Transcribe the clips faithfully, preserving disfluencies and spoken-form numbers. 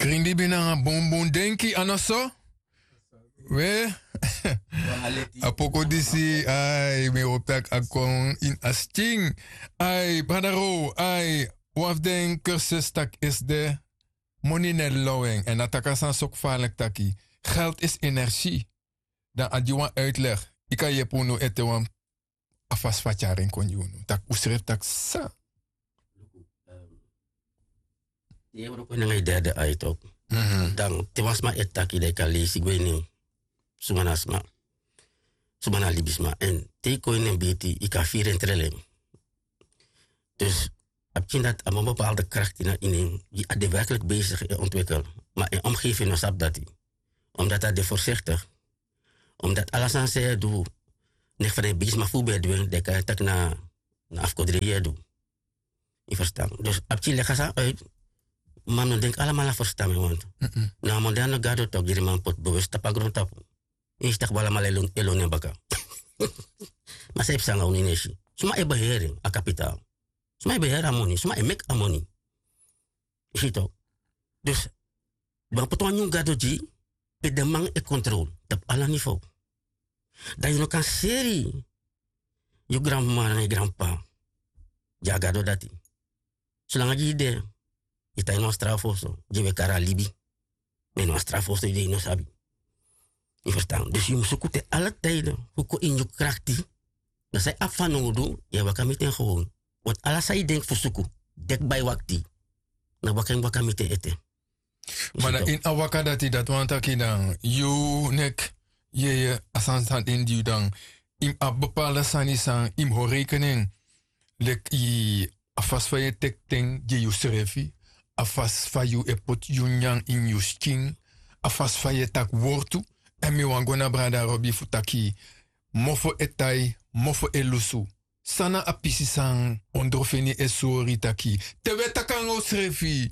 Ringi bini nanga bunbun denki, a no so? We. A poku disi, ai, mi e hopi tak' a kon ini a skin. Ai, brada Row, ai, wan fu den kursus tak' esi de, moni no e lon en. Èn a taki a sani so gevaarlijk taki, geld is energie. Dan a gi wan uitleg, yu kan yepi unu ete wan, a fasi fu a tyari en kon gi unu. Tak' un srefi taki san. Luku, ehm, te yu e wroko nanga yu derde ai tok. Mhm. Dan te wan sma e taki, dan yu kan leisi gwe ini en. Suma na sma. Suma na libisma. Èn te yu kon ini en birti, yu kan firi en trele. Dus, a pikin dati abi wan bepaalde krakti na ini en, di a de werkelijk bezig e ontwikkel. Ma en omgeving no sabi dati. Omdat a de voorzichtig. Omdat ala sani san yu e du, negi fa den bigisma fu un ben e du en, den kan e taki na, na afkodri yu e du. Yu ferstan. Dus a pikin leg a sani uit, ma mi no denki alamala ferstan mi, want na a moderne gado tok, diri man poti bewust tapu a grontapu. Yu e si tak' un alamala e lon, e lon en baka. Ma san e psa nanga unu, yu no e si. Suma e beheri en, a kapitaal? Suma e beheri a moni? Suma e meki a moni? Yu si tok. Dus, ben poti wan nyun gado gi, pe den man e controle tapu ala niveau. Dan yu no kan seri yu granmama nanga yu granpapa gi a gado dati. Solanga gi yu de, yu tan ini wan straafu oso, gi wi e kari a libi. Ma ini wan straafu oso yu de, yu no sabi. Yu ferstan? Dus yu mus suku te ala tijden fu kon ini yu krakti. Dan san yu abi fanowdu, yu e waka miti en gewoon. Want ala san yu denki fu suku, deki bai wakti, na waka yu mus waka miti en ete. Ma dan ini a waka dati, dati wani taki dan yu nek, yeye, a sani san de ini yu, dan yu mus abi bepaalde sani san yu mus hori rekening. Leki a fasi fa yu e teki ten gi yusrefi, a fasi fa yu e poti yu nyanyan ini yu skin, a fasi fa yu e taki wortu. Èn mi wani go na brada Robi fu taki, mofo e tai, mofo e lusu. San na a pisi san ondrofeni e sori taki, te wi e taki nanga unsrefi,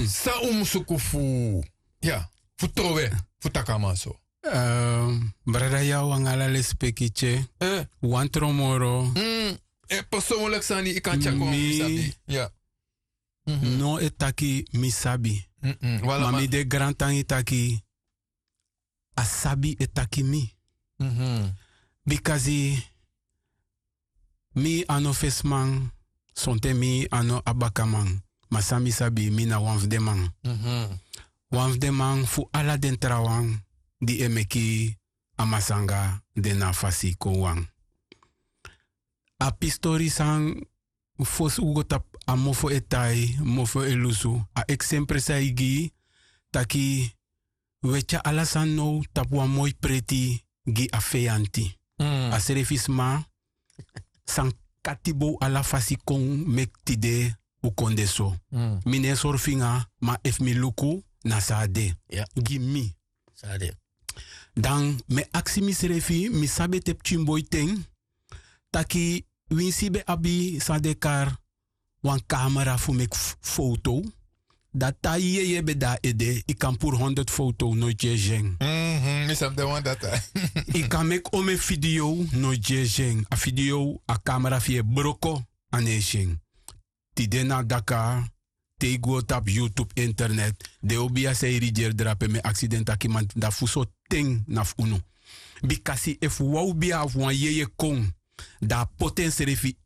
san un mus suku fu, ya, fu trowe, fu taki a man so? Ehm, brada Yaw, anga ala lespeki, tye. Eh. Wan tron moro. Mm, eh, persoonlijk sani, yu kan tyari kon, mi sabi. Ya. Mhm. No e taki mi sabi. Mm-mm. Ma mi de grantangi taki a sabi e taki mi. Mhm. Bikasi mi a no fesiman, sonten mi a no a bakaman. Ma san mi sabi, mi na wan fu den man. Mhm. Wan fu den man fu ala den trawan di e meki a masanga de na a fasi kon wan. A pistori san fosi un go tapu a mofo e tai, mofo e lusu, a eksempre san yu gi, taki wi e tyari ala sani now tapu wan moi preti gi a feyanti. Mm. A srefi sma san kati bow ala fasi kon meki tide un kon de so. Mm. Mi no e sori finga, ma efu mi luku, na so a de. Ya. Gi mi. So a de. Dan mi e aksi misrefi, mi sabi ete pikinboi ten, taki winsi yu ben abi san den e kari wan kamera fu meki f-, foto. Dan te a yeye ben de na ede, yu kan puru honderd foto, noiti yu e si en. Mhm, mi sabi den wan dati. Yu kan meki omeni video, noiti yu e si en. A video, a kamera fu yu e broko, a no e si en. Tide na daka, te yu go tapu YouTube, internet, den o bia san e rigeri drape, mi e aksi den taki man, dati fu sortu ten na fu unu. Bikasi efu wan o bia fu wan yeye kon, dan a poti ensrefi,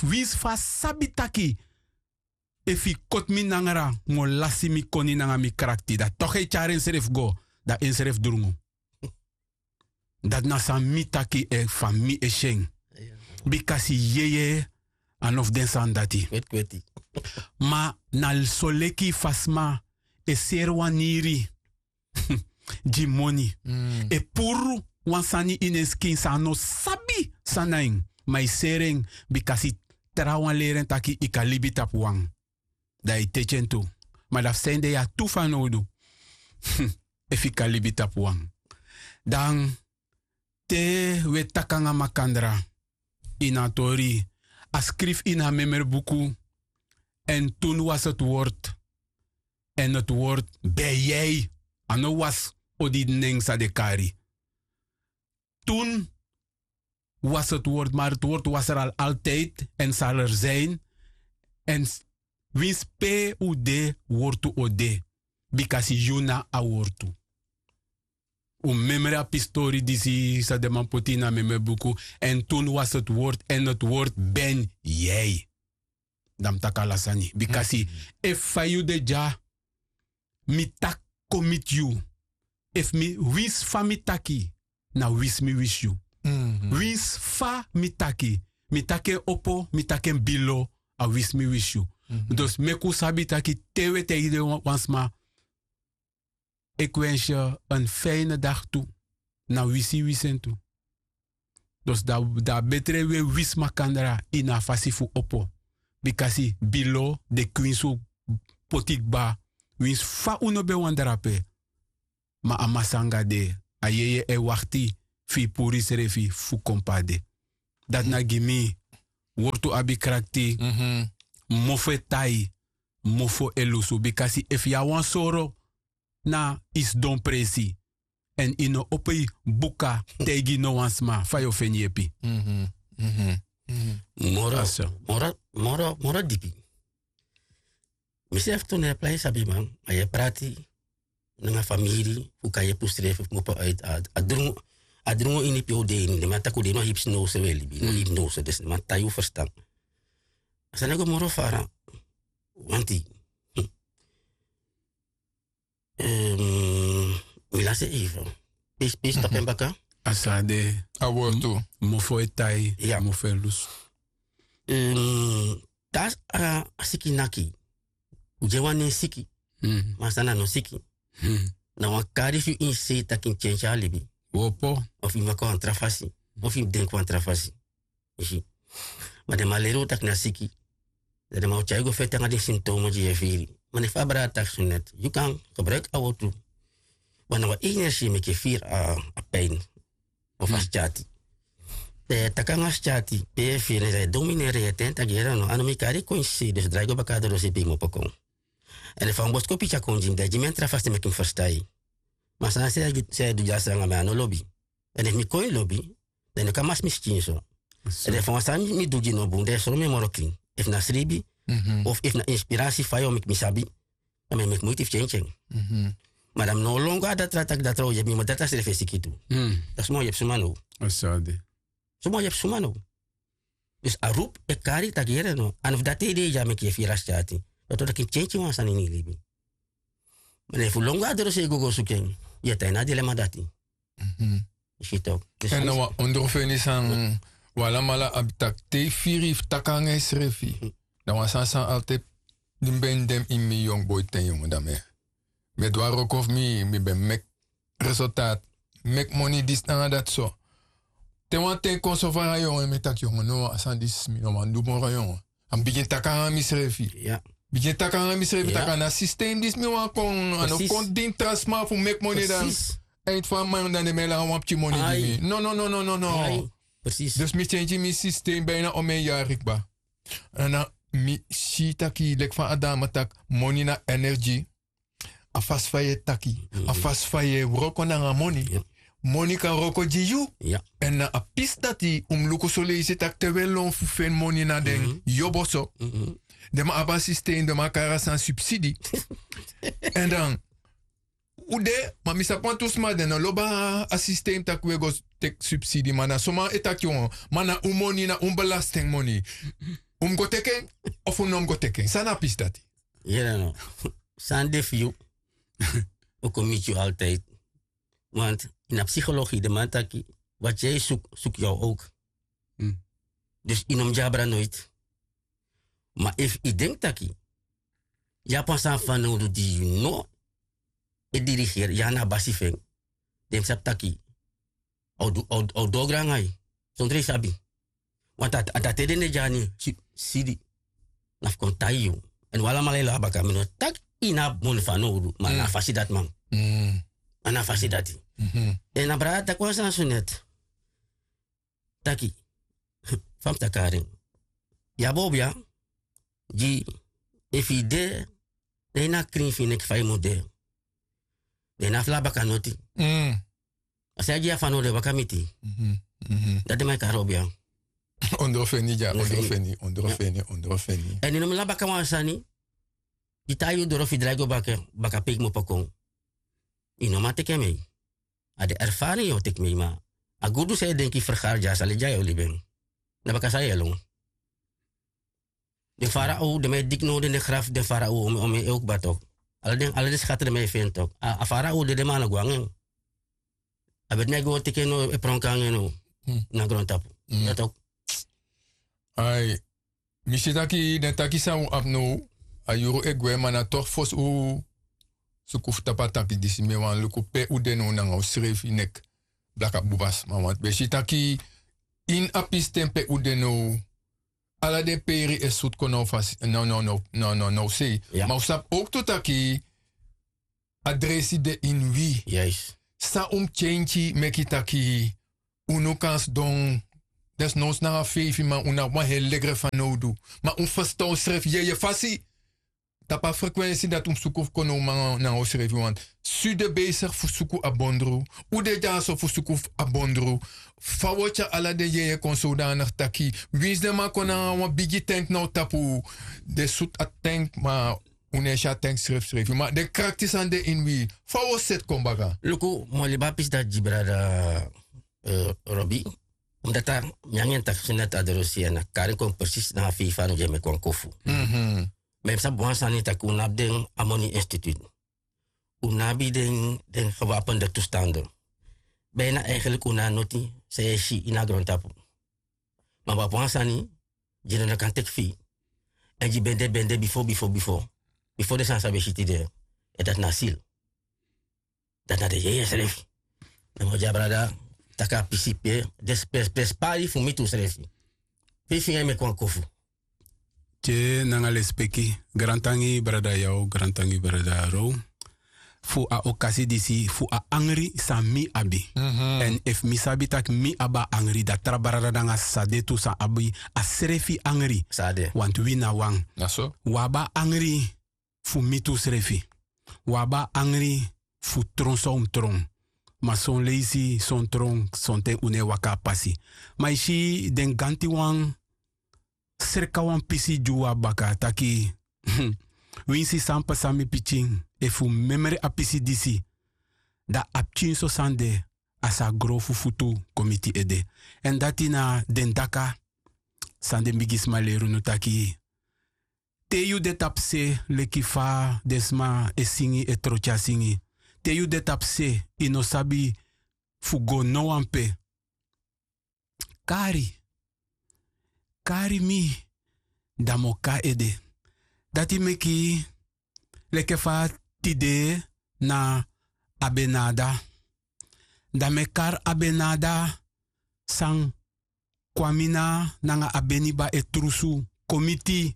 winsi fa a sabi taki efu yu koti mi nangara, mi o lasi mi koni nanga mi krakti, dan toch e tyari ensrefi go, dan ensrefi drungu. Dati na san mi taki, efu mi e si en. Bikasi yeye a no fu den sani dati. Kweti, kweti. Ma na soleki fa sma e seri wan niri gi moni. Mm. E puru wan sani ini en skin san a no sabi san na en. Ma yu seri en bikasi trawan leri en taki yu kan libi tapu wan. Dan yu teki en tu. Ma dan fu san ede yu abi tu fanowdu. Efu yu kan libi tapu wan. Dan te wi e taki nanga makandra ini a tori, a skrifi ini a memre buku. En toen was het woord. En het woord ben jij. A no was odi nen san den kari. Toen was het woord, maar het woord was er al altijd en zal er zijn. En s-, Winsi pe un de, wortu o de. Bikasi yu na a wortu. Un memre a pistori disi san den man poti ini a memre buku. En tun was het woord en het woord ben jij. Dan mi taki ala sani bikasi efu fa yu de dya, mi taki kon miti yu. Efu mi winsi fa mi taki, na winsi mi wisi yu. Winsi fa mi taki, mi taki en opo, mi taki en bilo, a winsi mi wisi yu. Dus meki un sabi taki te un e taigi den wan sma, ik wens je een fijne dag tu, na wisi yu wisi en tu. Dus dan a betre un e wisi makandra ini a fasi fu opo. Bikasi bilo de kwinsi un poti kba. Winsi fa un no ben wani drape, ma a masra anga de, a yeye e wakti fu yu puru yusrefi fu kon pe a de. Dati na gi mi, wortu abi krakti. Mofo e tai, mofo e lusu bikasi efu yu a wan soro na yu sidon presi, èn yu no opo yu buka taigi no wan sma fa yu o feni yepi. Moro moro moro dipi. Misrefi tu na e plai sabi man, ma yu e prati nanga famiri fu kan yepi usrefi fu kmopo uiti a drungu. A drungu ini pe un de ini den man taki un de ini wan hipsnose un e libi ini wan hipnose dus den man tai un ferstan. A sani e go moro fara. Wanti mi lasi en even. Pisi pisi tapu en baka. A sa de. A wortu. Mofo e tai, mofo e lusu. Te a siki naki, un gi en wan nen siki. Ma a sani na no siki. Na wan kari fu yu ini sei taki yu mus tyentye a libi. Opo. Of yu mus waka wan tra fasi, of yu mus denki wan tra fasi. Yu si. Ma den man leri un taki na siki. Dan den man o tyai yu go feti nanga den sintomo di yu e firi. Ma ne fa a brada taki so net, yu kan gebruiki a wortu. Ma na wan energi e meki yu firi a pin. Of a skyati. Dan yu e taki nanga a skyati, pe yu e firi en dan yu e domineri en yu e ten taki yere no a no mi kari kon ini sei dus drai go baka a doro sei pe yu kmopo kon. Èn efu a wan boskopu yu tyari kon gi mi dan yu gi mi en tra fasi meki mi ferstan yu. Ma a sani san yu e du dyasi nanga mi a no lobi. Èn efu mi kon ini lobi, dan yu no kan masi mi skin so. Èn efu wan sani mi du gi yu no bun dan yu e sori mi en moro klin. Efu na sribi, of efu na inspirasi fa yu o meki mi sabi, dan mi e meki muiti fu tyentye en. Ma dan mi no o lon go na datra taki datra o yepi mi ma datra srefi e siki tu. Dan suma o yepi suma now? Suma o yepi suma now? Dus a rupu e kari taki yere no a no fu dati ede yu dya meki yu e firi a skyati. Dati o taki yu mus tyentye wan sani ini yu libi. Ma dan efu lon go na dorosei go go suku en, yu e tan ini a dilema dati. Yu si tok'? Èn na wan ondrofeni san wi alamala abi tak' te yu firi fu taki nanga yusrefi, na wan sani san altid di mi ben de ini mi yongu boiten yongu dan mi e du a wroko fu mi mi ben meki resultati, meki moni disi nanga dati so. Te wan ten kon so fara yongu en mi e taki yongu no a sani disi mi no wani du moro yongu. A mi bigin taki nanga misrefi. Bigin taki nanga misrefi tak' a na sistem disi mi wani kon a no kon dini tra sma fu meki moni dan. Eindfu a man dan den mi e langa wan pikin moni gi mi no no no no no. Dus mi tyentyi mi sistem bina omen yari kba. Èn na mi si taki leki fa a dama taki, moni na energi. A fasi fa yu e taki, a fasi fa yu e wroko nanga moni. Moni kan wroko gi yu. Èn na a pisi dati un mus luku soleisi tak' te un e lon fu feni moni na den yobo so. Den man abi a sistem den man kari a sani subsidi. Èn dan un de ma mi sabi wantu sma den no lobi a sistem tak' un e go teki subsidi ma na so man e taki wan ma na un moni na un belastingmoni. Un mus go teki en? Ofu un no mus go teki en san na a pisi dati? Yere no. San de fu yu o kon miti yu altidi. Want ini a psikologi den man taki, wati yu e suku suku yu a owk. Dus yu no mus gi abra noiti. Ma efu yu denki taki yu abi wan sani fanowdu di yu no e dirigeri yu a na a basi fu en, den mus sabi taki a o du ogro nanga yu. Sondro yu sabi. Want a dati ede ne dyani sidi na fu kon tai yu. Èn wi alamala e lon a baka mi no taki yu no abi moni fanowdu ma na a fasi dati man. Ma na a fasi dati. Èn a brada taki wan sani so neti taki fa mi taki ari en. Yu abi obia gi efu yu de, dan yu na krin fu yu neki fa yu mus de. Dan yu na fu lon a baka noti. A san yu gi yu a fanowdu e waka miti yu. Dati den man e kari obia. Ondro feni dya ondro feni ondro feni ondro feni. Èn yu no mus lon a baka wan sani. Yu tai yu doro fu yu drai go baka pe yu kmopo kon. Yu no man teki en mei. A de erfarin yu o teki mei ma a gudu san yu denki fergari dya a sali dya yu o libi en. Na baka san yu e lon. Den fara ow den man e diki now den den grafu den fara ow omi en e o kba tok. Ala den skati den man e feni tok a fara ow dede ma a no go nanga en. A beti mi a go teki en no e pronki nanga en no. Na grontapu. Ya tok. Ai, mi si taki den taki san un abi now. A yuru e gwe ma na tok fosi un suku fu tapu a taki disi mi e wani luku pe un de now nanga un srefi neki. Blaka buba sma wantu ben si taki ini a pisten pe un de now. Ala den peri e sutu kon na un fasi na un sei. Ma un sabi owktu taki a dresi de ini wi. San un mus tyentyi meki taki unu kan sidon desnowsi nanga feifi man un na abi wan heri legre fanowdu. Ma un ferstan unsrefi yeye fasi. Tapu a frekwensi dati un mus suku fu kon na un man nanga unsrefi wantu. Su de beisigi fu suku a bondru? Un de dyaso fu suku fu a bondru? Fa un o tyari ala den yeye kon sowdanigi taki winsi den man kon nanga wan bigi tenk na un tapu den sutu a tenk ma un no e si a tenk srefsrefi ma den krakti sani de ini wi. Fa un o seti kon baka? Luku mi o libi a pisi dati gi brada robi. Omdati mi nanga en taki seni dati a doro si en na kari en kon presisi nanga feifi anu di e meki wan kofu. Ma yu mus sabi wan sani taki un no abi den amoni institutu. Un no abi den gewapende tustande. Bina eigenlik un no a noti san yu e si ini a grontapu. Ma un abi wan sani di no no kan teki fi yu. Èn di ben de ben de bifo bifo bifo bifo den sani san ben si tide. Èn dati na a sil. Dati na den yeye srefi. Na mi o gi a brada taki a pisi pe den spespari fu miti unsrefi. Pe yu finga yu meki wan kofu. Te nanga lespeki grantangi brada yaw grantangi brada row. Fu a okasi disi fu a angri san mi abi. Èn efu mi sabi tak' mi abi a angri dan tra brada nanga sisa de tu san abi a srefi angri. Wantu wi na wan. Wi abi a angri fu miti unsrefi. Wi abi a angri fu tron san un mus tron. Ma son leisi son tron sonten un no e waka a pasi. Ma yu si den gantiwan sreka wan pisi gi un abi baka taki winsi san pasa mi pikin efu memre a pisi disi dan a pikin so sani de a sa gro fu futu kon miti ede. Èn dati na den daka san den bigisma leri unu taki te yu de tapu se leki fa den sma e singi e trotya singi te yu de tapu se yu no sabi fu go no wan pe. Kari kari mi dan mi o kon na ede. Dati meki leki fa tide na abenada dan mi e kari abenada san kwamina nanga abeniba e trusu komiti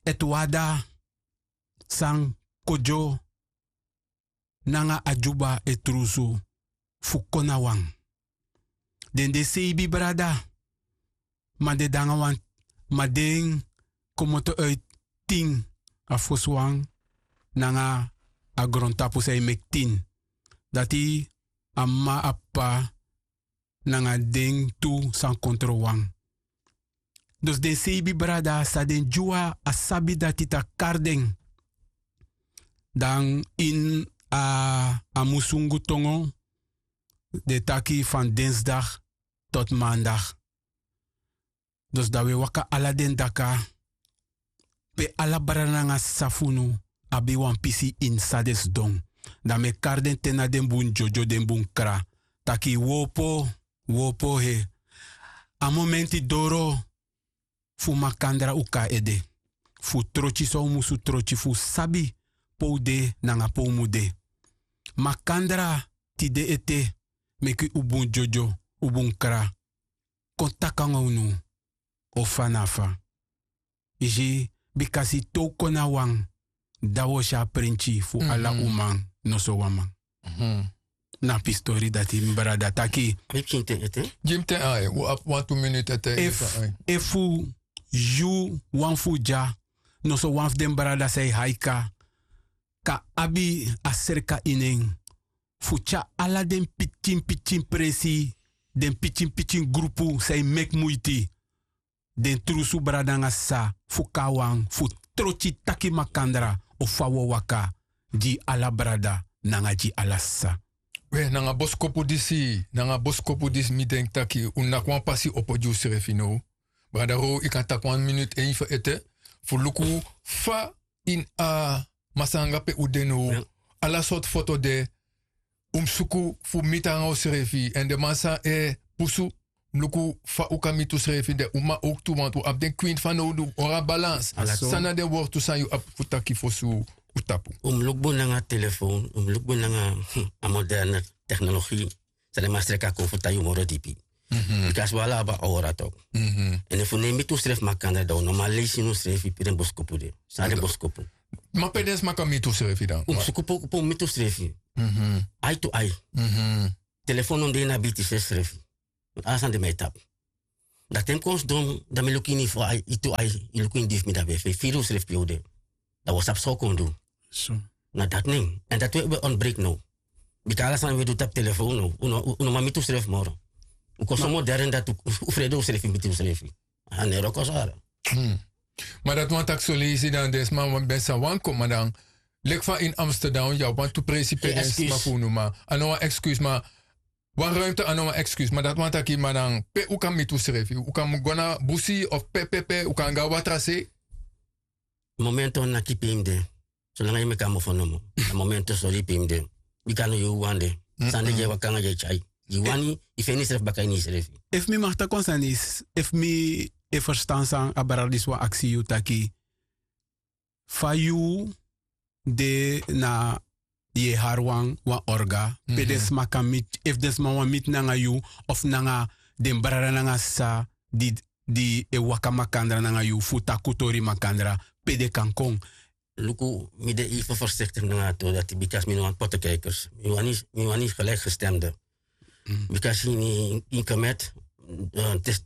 etwada san kodyo nanga adyuba e trusu fu kon na wan. Den de seibi brada ma den de nanga wan ma den komoto uiti tin a fosi wan nanga a grontapu san e meki tin. Dati a m'ma a p'pa nanga den tu san kontro wan. Dus den seibi brada san den dyuwa a sabi dati taki kari den dan ini a musungu tongo den taki fan densdag tot mandag. Dus dan wi e waka ala den daka pe ala brada nanga sisa fu unu abi wan pisi ini san den sidon. Dan mi e kari den te na den bun dyodyo den bun kra taki wi opo wi opo he. A momenti doro fu makandra un kon na ede fu trotyi san un musu trotyi fu un sabi pe un de nanga pe un mu de. Makandra tide ete meki un bun dyodyo un bun kra kon taki nanga unu. Ofa na fa yu si bikasi te un kon na wan dan un o si a prentyi fu ala uman noso wan man. Na pistori dati mi brada taki. Gi mi ten ai un abi wantu miniti ete. Efu yu wan fu un dya noso wan fu den brada san e haika kan abi a serka ini en fu tyari ala den pikinpikin presi den pikinpikin grupu san e meki muiti den trusu brada nanga sisa fu kon na wan fu trotyi taki makandra of fa wi o waka gi ala brada nanga gi ala sisa. We nanga boskopu disi nanga boskopu disi mi denki taki un naki wan pasi opo gi usrefi now. Brada row yu kan taki wan minutu en yu fu ete fu luku fa ini a masra nanga pe un de now. Ala sortu foto de. Un mus suku fu miti nanga usrefi èn den man san e pusu. Luku fa un kan miti usrefi den uman owktu wantu un abi den kwinti fanowdu un hori a balans. San na den wortu san yu abi fu taki fosi un tapu? Un mus luku bun nanga telefon, un mus luku bun nanga a moderne teknologi. San den man sreki a kon fu tan yu moro dipi. Bika a swala abi a ora tok. Èn efu un no e miti unsrefi makandra dan un no man leisi ini unsrefi pe den boskopu de. San na den boskopu? Ma pe den sma kan miti unsrefi dan? Un mus suku pe un miti unsrefi. Ai tu ai. Telefon no de ini a biti sesrefi. Ala sani de mi e tapu. Dan te mi kon sidon dan mi luku ini fu ai yu tu ai, yu luku ini di fu mi dan mi e firi unsrefi pe yu o de. Dan wi o sabi san wi kon du. Na dati nen èn dati wi e ontbreki now. Bika ala sani wi e du tapu telefon now. Un no man miti unsrefi moro. Un kon so modern dati un frede unsrefi miti unsrefi. A no e wroko so ala. Ma dati wani taki soleisi dan den sma ben sa wani kon ma dan leki fa ini amsterdam yu abi wantu presi pe den sma fu unu ma a no wan excuse ma wan ruimte a no wan excuse ma dati wani taki ma dan pe un kan miti unsrefi un kan mus go na busi of pe pe pe un kan go na watra sei. Momento naki pe yu mus de. Solanga yu meki a mofo nomo. A momento sori pe yu mus de. Bika no yu wan de. Sani di e waka nanga yu e tyai yu wani yu feni yusrefi baka ini yusrefi. Efu mi mag taki wan sani efu mi e ferstan san a brada disi wani aksi yu taki fa yu de na yu e hari wan orga pe den sma kan miti efu den sma wani miti nanga yu of nanga den brada nanga sisa di e waka makandra nanga yu fu taki un tori makandra pe den kan kon. Luku mi de efu fersektik nanga a tori dati bika mi no wani potekijkers mi wani gelijkgestemde. Bika si ini kemet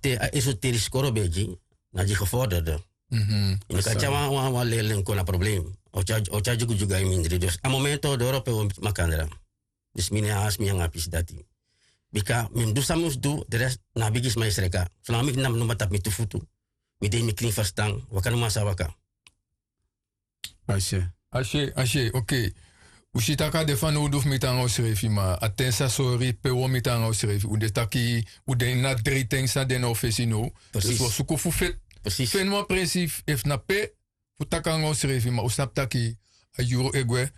te a esu teri skoro ben e gi na gi geforderde. Ini kan tyari wan lerling kon na problem o tyari dyugu dyugu a yu mindri dus a momento doro pe wi o miti makandra. Dus mi no e hansi mi nanga a pisi dati. Bika mi mus du san mi mus du de rest na a bigi sma e sreka solanga mi kina mi no man tapu mi tu futu. Mi de ini mi krin ferstan waka no man sa waka. Asi. Asi. Okei. Un si tak' a de fanowdu fu miti nanga unsrefi ma a ten sa sori pe un o miti nanga unsrefi un de taki un de ini a drei ten san de na un fesi now. Dus wi o suku fu feni wan prensi efu na pe fu taki nanga unsrefi ma un sabi taki a yuru e gwe.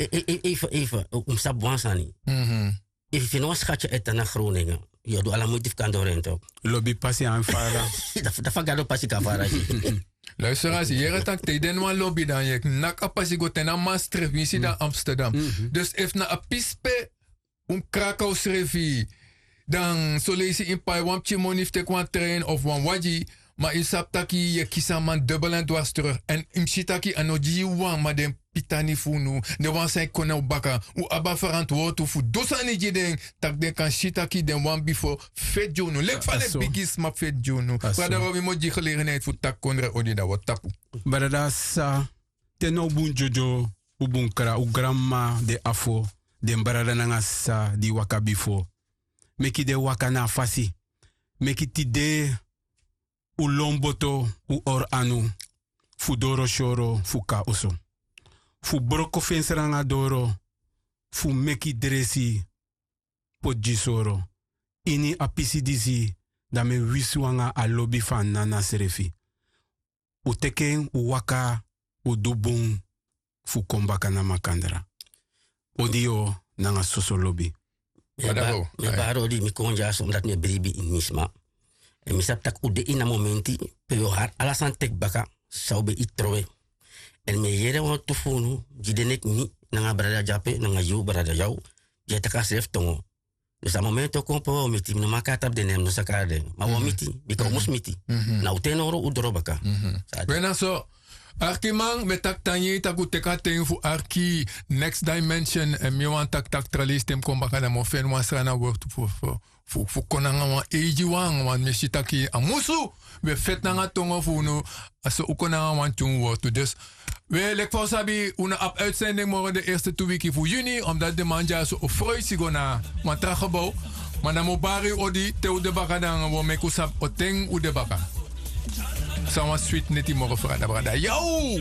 Eifa eifa un mus sabi wan sani. Efu yu feni wan skati e tan na gronenga yu o du ala muiti fu kan doro en tok. Lobi pasi an fara. Dan fa gado pasi kan fara gi. Luister a si yere tak' te yu de na wan lobi dan yu e naki a pasi go te na a man srefi yu si dan amsterdam. Dus efu na a pisi pe un kraka unsrefi dan soleisi yu mus pai wan pikin moni fu teki wan trein of wan wagi. Ma yu sabi taki yu e kisi a man dubel èn dwars teruk èn yu mus si taki a no gi yu wan ma den pitani fu unu den wan san e kon na un baka. Un abi a ferantwortu fu du sani gi den tak' den kan si taki den wan bifo feti gi unu leki fa den bigi sma feti gi unu. Brada robi mi o gi gelegenheit fu taki kondre odi dan wi o tapu. Brada sisa, te now bun dyodyo un bun kra un granmama den afo, den brada nanga sisa di waka bifo, meki den waka na a fasi. Meki tide un lon boto un hori anu fu doro syoro fu kon na oso, fu broko fensra nanga doro, fu meki dresi poti gi soro ini a pisi disi. Dan mi e wisi un nanga a lobi fu a nana srefi. Un teki en un waka un du bun fu kon baka na makandra. Odi yu nanga soso lobi. Mi e bari odi mi kon dyaso omdati mi e bribi ini mi sma. Èn mi sabi tak' un de ini a momenti pe yu o hari ala sani teki baka san un ben iti trowe. Èn mi e yere wantu fu unu gi de neki mi nanga brada dyape nanga yu brada yaw di e taki a srefi tongo. Dus a momenti o kon pe wi o miti mi no man kon na tapu den nen mi no sa kari den ma wi o miti. Bika un mus miti na un ten nowru un doro baka. We na so. Arkiman mi e taki tan yei tak' un teki a ten fu arki next dimension èn mi wani taki tak' tra leisi te mi kon baka dan mi o feni wan srana wortu fu kon nanga wan eigi wan wan mi e si taki a musu. Wi e feti nanga tongo fu unu. A so un kon nanga wan tyun wortu dus. We leki fa un sabi un no abi uitsending moro den erste tu wiki fu yuni omdati den man dyaso o froisi go na wan tra gebow. Ma dan mi o bari yu odi te un de baka dan wi o meki un sabi o ten un de baka. San wan switi neti moro frada brada yow.